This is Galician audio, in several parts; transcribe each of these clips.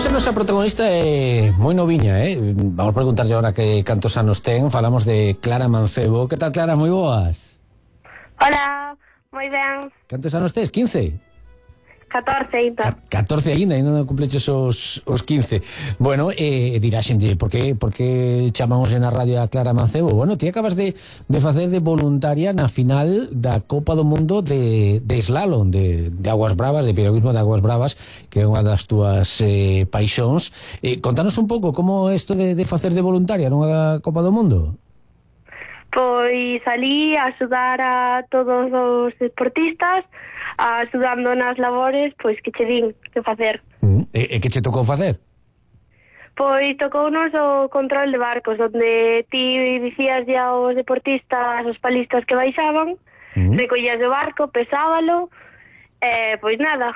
Hoxe a nosa protagonista é moi noviña, Vamos preguntarlle agora que cantos anos ten. Falamos de Clara Mancebo. Que tal, Clara? Moi boas. Hola, moi ben. Cantos anos tes? 15? 14 ainda. 14 ainda non cumpleches os 15. Bueno, dirá xente, por que chamamos na radio a Clara Mancebo? Bueno, ti acabas de facer de voluntaria na final da Copa do Mundo de slalom, de Aguas Bravas, de piragüismo de Aguas Bravas, que é unha das túas paixóns. Contanos un pouco como é isto de facer de voluntaria nunha Copa do Mundo. Pois salí a axudar a todos os deportistas, axudando nas labores, pois que che din que facer. E que che tocou facer? Pois tocounos o control de barcos, onde ti dicías ya aos deportistas, os palistas que baixaban, recollías o barco, pesábalo, pois nada,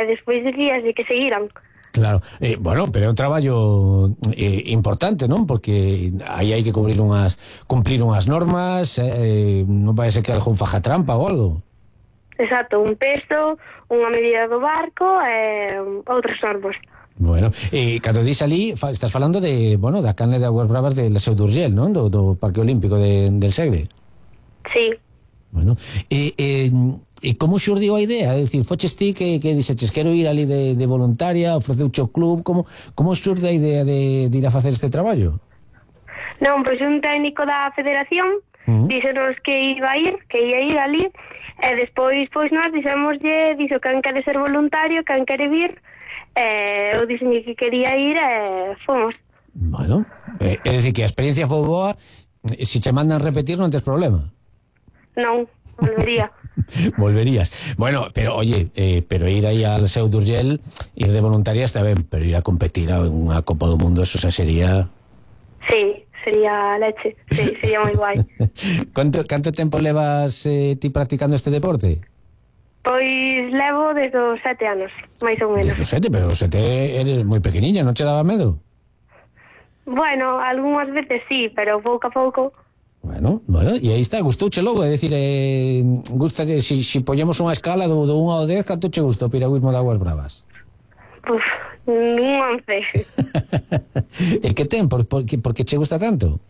despois dicías de que seguiran. Claro, bueno, pero é un traballo importante, non? Porque aí hai que cumplir unhas normas, non vai ser que algún faja trampa ou algo. Exacto, un peso, unha medida do barco e outros normas. Bueno, cando dis ali, estás falando de, bueno, da canle de Aguas Bravas de la Seu d'Urgell, non? Do Parque Olímpico del Segre. Sí. Bueno, e como xurdiu a idea? É dicir, foches ti que dixeches quero ir ali de voluntaria, ofreceuche o club, como xurde a idea de ir a facer este traballo? Non, pois un técnico da federación díxenos que ia ir ali, e despois pois nós dixémoslle, dixo quen quere ser voluntario, quen quere vir, eu dixenlle que quería ir e fomos. Bueno, é dicir que a experiencia foi boa, se che mandan repetir non tes problema. Non, volvería. Volverías. Bueno, pero oye, pero ir aí al Seu d'Urgell, ir de voluntaria está ben, pero ir a competir a unha Copa do Mundo, eso xa sería... Sí, sería leche, sí, sería moi guai. Canto tempo levas ti practicando este deporte? Pois levo desde os 7 anos, máis ou menos. Desde os 7, pero os 7 eres moi pequeniña, non che daba medo? Bueno, algunhas veces sí, pero pouco a pouco... Bueno, e aí está, gustouche logo, é dicir, gustalle, si poñemos unha escala do 1 ao 10, canto che gusta o piragüismo de Aguas Bravas? Un 11. E que ten? Por que che gusta tanto?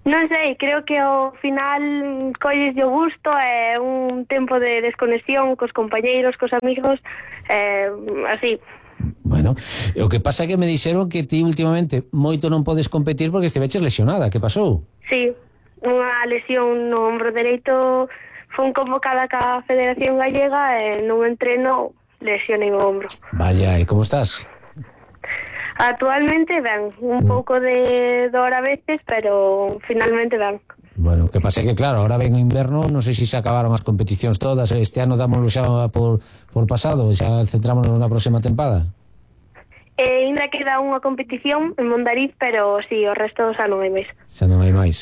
Non sei, creo que ao final colles o gusto, é un tempo de desconexión cos compañeiros, cos amigos, así. Bueno, o que pasa é que me dixeron que ti últimamente moito non podes competir porque estiveches lesionada, que pasou? Sí, unha lesión no ombro dereito, fun convocada ca Federación Gallega e nun entreno lesionei o ombro. Vaya, e como estás? Actualmente ben, un pouco de dor a veces, pero finalmente ben. Bueno, que pasa que claro, ahora ven o inverno, non sei se se acabaron as competicións todas, este ano dámoslo xa por pasado, xa centrámonos na próxima tempada. Ainda queda unha competición en Mondariz, pero si, o resto xa non hai máis. Xa non hai máis.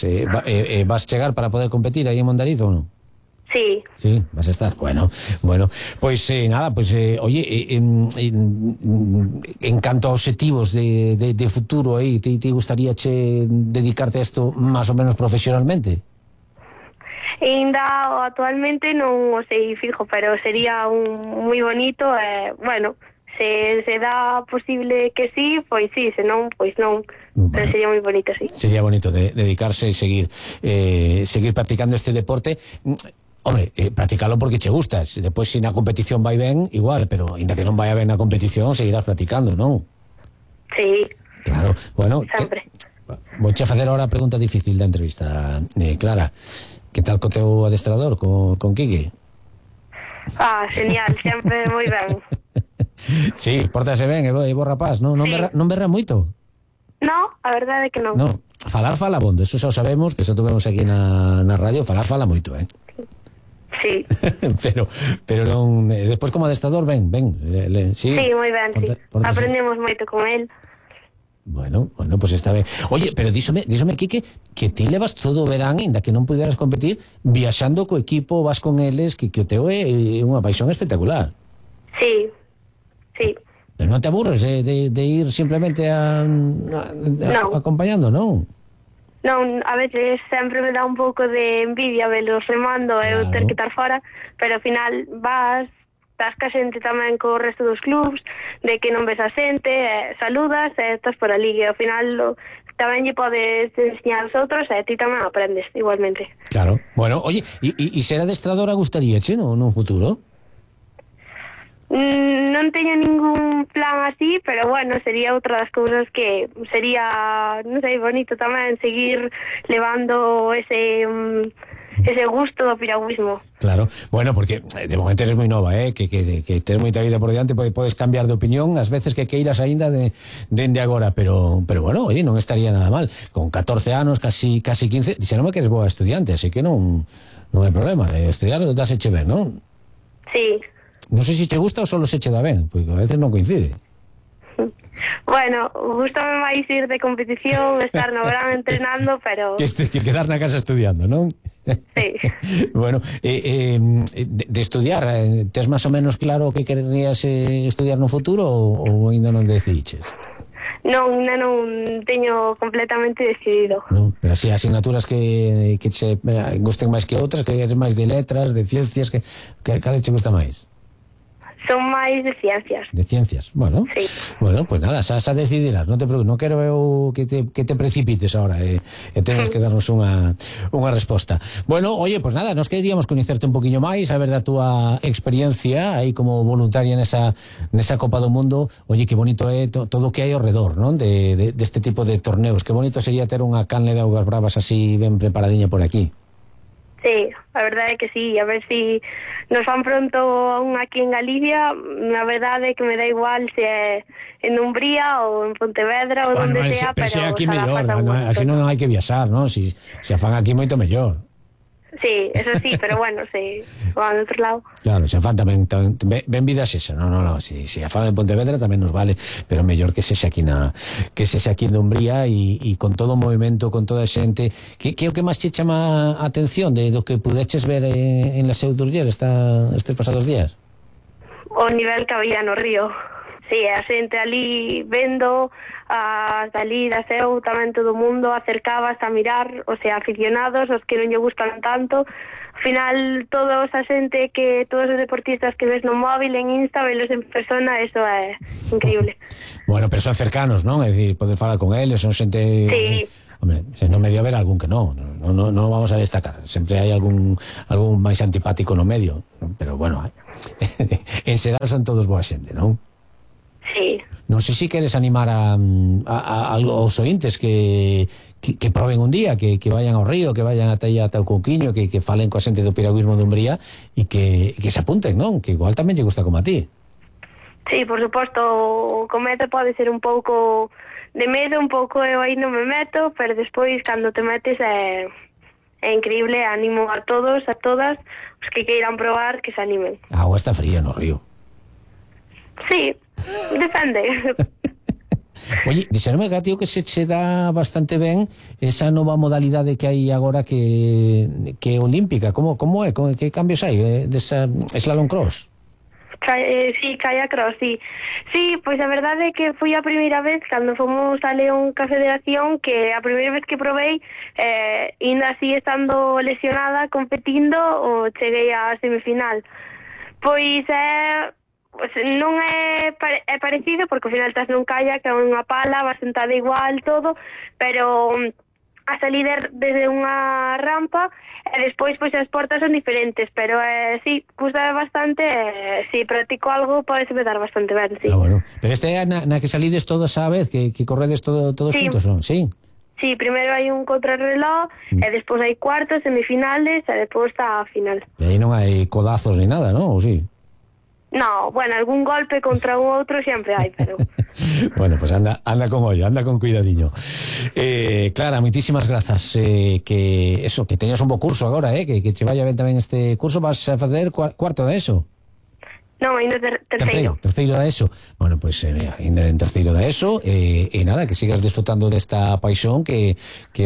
Vas chegar para poder competir aí en Mondariz ou non? Sí. Sí, vas a estar. Bueno, pois nada, oye, en canto a objetivos de futuro aí, te gustaría dedicarte a isto máis ou menos profesionalmente? Ainda actualmente non o sei fijo, pero sería moi bonito, bueno, se dá posible que sí, pois sí, se non, pois non. Bueno, pero sería moi bonito, sí. Sería bonito dedicarse e seguir practicando este deporte. Home, practicalo porque che gustas. Depois, se na competición vai ben, igual, pero ainda que non vai ben na competición, seguirás practicando, non? Sí. Claro, bueno. Sempre. Vouche facer ahora a pregunta difícil da entrevista, Clara. Que tal co teu adestrador, con Quique? Genial, sempre moi ben. Sí, pórtase ben, é bo rapaz, non berra moito? No, a verdade é que non. No, falar fala bondo, eso xa o sabemos, que xa tuvemos aquí na radio, falar fala moito, Sí. pero non, despois como adestrador, ben, sí. Sí, moi ben, sí. Aprendemos moito con el. Bueno, pues está ben. Oye, pero díxome, Quique, que ti levas todo o verán, ainda que non puderas competir, viaxando co equipo, vas con eles, que o teu é unha paixón espectacular. Sí. Pero non te aburres de ir simplemente acompañando, non? Non, a veces sempre me dá un pouco de envidia velos remando e eu ter que estar fora, pero ao final vas, estás ca xente tamén co resto dos clubs, de que non ves a xente, saludas e estás por ali, e ao final tamén lle podes enseñar aos outros e ti tamén aprendes igualmente. Claro, bueno, oye, e ser adestradora gustaríache no futuro? Non teño ningún plan así, pero bueno, sería outra das cousas que sería, non sei, bonito tamén seguir levando ese gusto do piragüismo. Claro, bueno, porque de momento eres moi nova, que tens moita vida por diante, podes cambiar de opinión as veces que queiras aínda dende agora, pero bueno, oye, non estaría nada mal. Con 14 anos, casi 15, dixeronme que eres boa estudiante, así que non hai problema, estudiar dáseche ben, non? Sí. Non sei se te gusta ou solo se che dá ben, porque a veces non coincide. Bueno, gustame máis ir de competición, estar no verán entrenando, pero... Que quedar na casa estudiando, non? Sí. Bueno, de estudiar, tes máis ou menos claro que querías estudiar no futuro ou ainda non decidiches? Non, non teño completamente decidido. Non, pero así asignaturas que che gusten máis que outras, que eres máis de letras, de ciencias, que cal che gusta máis? Son máis de ciencias. De ciencias, bueno. Sí. Bueno, pues nada, xa decidirás, non te preocupes, non quero eu que te precipites ahora e tenes que darnos unha resposta. Bueno, oye, pues nada, nos queríamos coñecerte un poquinho máis, saber da túa experiencia aí como voluntaria nesa Copa do Mundo. Oye, que bonito é todo o que hai ao redor, non? Deste tipo de torneos. Que bonito sería ter unha canle de augas bravas así ben preparadiña por aquí. Sí, a verdade é que sí, a ver si nos fan pronto aquí en Galicia. A verdade é que me dá igual se é en Umbría ou en Pontevedra ou onde sea, pero aquí mellor, así non hai que viaxar, non? Si a fan aquí moito mellor. Sí, eso sí, pero bueno, se van ao outro lado. Claro, se a fan tamén ben vida xesa, non, si a fan en Pontevedra tamén nos vale, pero mellor que sexa aquí na Umbría e con todo o movimento, con toda a xente. Que é o que máis che chama a atención do que pudeches ver en la Seu d'Urgell estes pasados días? O nivel que había no río. Sí, a xente ali vendo, ali da Seu tamén todo o mundo acercabas a mirar, o sea, aficionados, os que non lle gustan tanto. Al final, todos a xente todos os deportistas que ves no móvil, en Insta, velos en persona, eso é increíble. Bueno, pero son cercanos, non? É dicir, podes falar con eles, son xente... Sí. Hombre, se non medio haber algún que non vamos a destacar, sempre hai algún máis antipático no medio, pero bueno, en xeral son todos boa xente, non? Sí. Non sei se queres animar aos ointes que proben un día, que vayan ao río, que vayan ata o Couquiño, que falen coa xente do piragüismo de Umbría e que se apunten, non? Que igual tamén lle gusta como a ti. Sí, por suposto, o cometo pode ser un pouco de medo, un pouco eu aí non me meto, pero despois cando te metes é increíble. Animo a todos, a todas os que queiran probar, que se animen. A agua está fría no río. Sí, depende. Oye, dixeronme, tío, que se che dá bastante ben esa nova modalidade que hai agora que é olímpica. Como é? Que cambios hai desa slalom cross? Sí, kayak cross, sí. Sí, pois a verdade é que foi a primeira vez cando fomos a León ca Federación, que a primeira vez que probei, ainda así estando lesionada, competindo, o cheguei á semifinal. Pois non é parecido, porque ao final estás nun kayak, é unha pala, vas sentada igual, todo, pero a salir desde unha rampa e despois pois as portas son diferentes, pero sí, gusta bastante, si practico algo podese dar bastante ben, sí. Bueno. Pero este é na que salides todos a vez, que corredes todos sí. Xuntos, non? Sí. Sí, primeiro hai un contrarreloj e despois hai cuartos, semifinales e despois está a final. E aí non hai codazos ni nada, non? Ou sí? No, bueno, algún golpe contra un outro sempre hai, pero... Bueno, pues anda con ollo, anda con cuidadiño. Clara, moitísimas grazas, que teñas un bo curso agora, que che vaya ben tamén este curso. Vas a facer cuarto da ESO? Non, ainda terceiro. Terceiro da ESO. Bueno, pues ainda en terceiro da ESO, e nada, que sigas disfrutando desta paixón que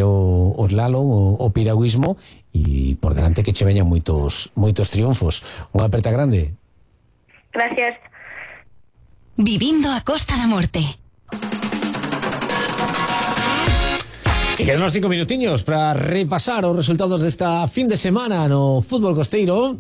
o slalom, o piragüismo, e por delante que che veñan moitos triunfos. Unha aperta grande. Gracias. Vivindo a Costa da Morte. E quedan uns 5 minutiños para repasar os resultados desta fin de semana no fútbol costeiro.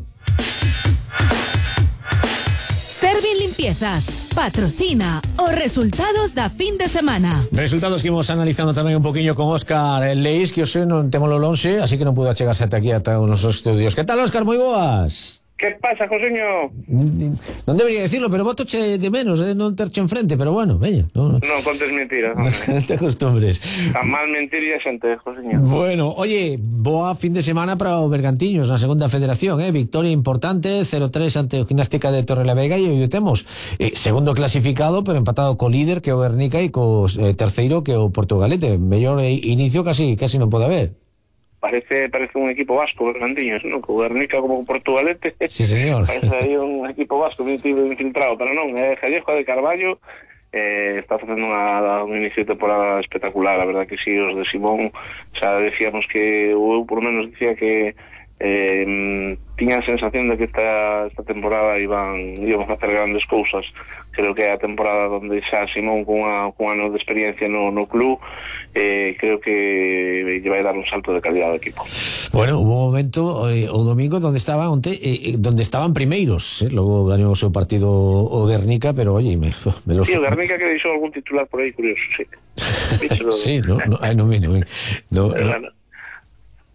Ervin Limpiezas patrocina os resultados da fin de semana. Resultados que imos analizando tamén un poquinho con Óscar Leis, que hoxe non temos lo lonxe, así que non pudo achegarse ata aquí, ata os nosos estudios. Que tal, Óscar? Moi boas. ¿Qué pasa, Joseño? Non debería decirlo, pero botoche de menos, non terche enfrente, pero bueno, veña. Non contes mentiras, non te acostumbres. Tan mal mentir e a xente, Joseño. Bueno, oye, boa fin de semana para o Bergantiños na segunda federación, victoria importante, 0-3 ante o Gimnástica de Torrelavega, e hoy temos segundo clasificado, pero empatado co líder que o Guernica e co terceiro que o Portugalete. Mellor inicio casi non pode haber. Parece un equipo vasco, Bergantiños, ¿no? Co Guernica como Portugalete. Sí, señor. Parece aí un equipo vasco infiltrado, pero non, Jallejo de Carballo está facendo un inicio de temporada espectacular. A verdad que sí, os de Simón xa decíamos que, eu por lo menos decía que tiña a sensación de que esta temporada íbamos a hacer grandes cousas. Creo que é a temporada donde xa Simón con ano de experiencia no club, creo que lle vai dar un salto de calidad ao equipo. Bueno, hubo un momento o domingo donde estaban primeiros, logo gañou o seu partido o Guernica, pero oye, Sí, o Guernica que deixou algún titular por aí curioso, sí. Sí, no.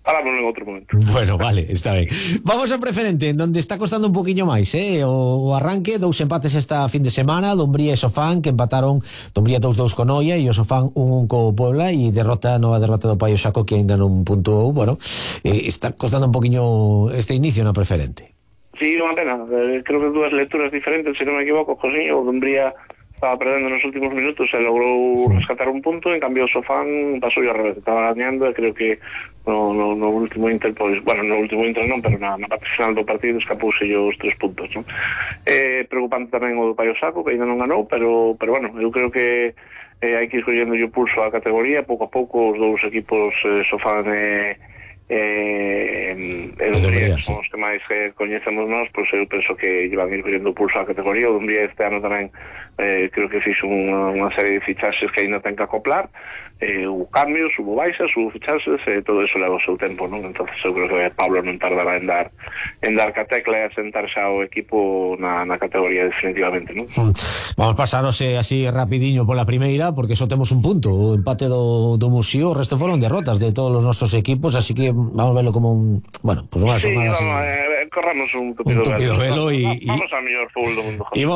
Falamos en outro momento. Bueno, vale, está ben. Vamos ao preferente, donde está costando un poquinho máis, o arranque, 2 empates esta fin de semana, Dumbría e Sofán, que empataron, Dumbría 2-2 con Noia e o Sofán 1-1 co Puebla, e nova derrota do Paio Xaco, que aínda non puntuou. Bueno, está costando un poquinho este inicio na preferente. Sí, unha pena, creo que dúas lecturas diferentes, se non me equivoco, José, o Dumbría estaba perdendo nos últimos minutos e logrou rescatar un punto, en cambio o Sofán pasou ao revés, estaba gañando e creo que no último Inter, pois, bueno, no último Inter non, pero na parte final do partido escapouse os 3 puntos, non? Preocupante tamén o do Paio Xaco, que ainda non ganou, pero bueno, eu creo que hai que ir collendo o pulso á categoría, pouco a pouco os dous equipos Sofán Dumbría, que son os que máis coñecemos nós, pois eu penso que llevan ir collendo o pulso á categoría. O Dumbría este ano tamén creo que fixo unha serie de fichaxes que ainda ten que acoplar, hubo cambios, hubo baixas, hubo fichaxes, todo eso leva o seu tempo, non? Entonces eu creo que Pablo non tardará en dar ca tecla e a sentar xa o equipo na categoría definitivamente, non? Vamos pasaros así rapidiño pola primeira, porque só temos un punto, o empate do Muxío, o resto foron derrotas de todos os nosos equipos, así que vamos a verlo como unha sí, semana corramos un tupido velo e vamos ao mellor fútbol do mundo.